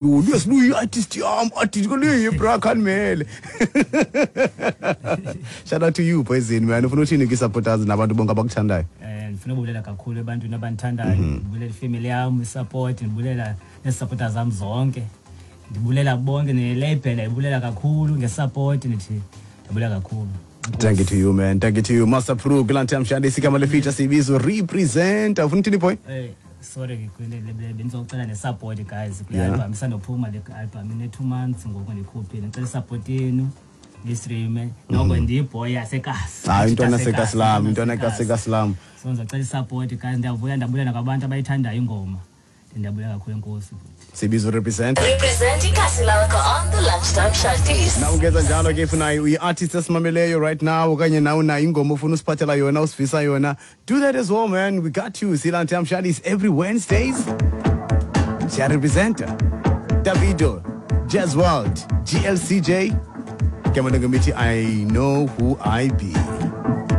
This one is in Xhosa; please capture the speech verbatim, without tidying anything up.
Luya siluyi artist yam, artist kule bra khanimele. Shout out to you, Poison, man. Ufuna uthini kwi-supporters nabantu bonke abakuthandayo? um ndifuna ubulela kakhulu ebantwini abandithandayo. Ndibulela ifamily yam, isupport, ndibulela nezisupporter zam zonke, ndibulela bonke, nelabel ndibulela kakhulu ngesupport. Ndithi ndibulela kakhulu. Thank you to you, man. Thank you to you, Master Pro. Kulantam Shandi sigama le feature sibizo "Represent". Ufuna uthini, boy? Eh sorry, bendizocela nesupport, guys, kule Yeah. album isandophuma. Le album ine-two months ngoku ndikhuphile. Ndicela isupport yenu, nistreame noko. Ndiyiboy yasekasi. Hayi, intwana sekasilam, intwana kasekasilam. So ndizocela isupport, guys. Ndiyavuya, ndabulela nakwabantu abayithandayo ingoma. Ndiyabulela kakhulu, enkosi. Sibizo "Represent". Represent ikasi lakho on the Lunchtime Shanties. Na ungenza njalo ke, if unayo uyi-artist esimameleyo right now, okanye nawe unayo ingoma ofuna usiphathela yona, usivisa yona, do that as well, man. We got you. Silantam Shandis every Wednesdays. Siyarepresenta. Davido, Jazz World, G L C J. Ke ngemithi "I Know Who I Be".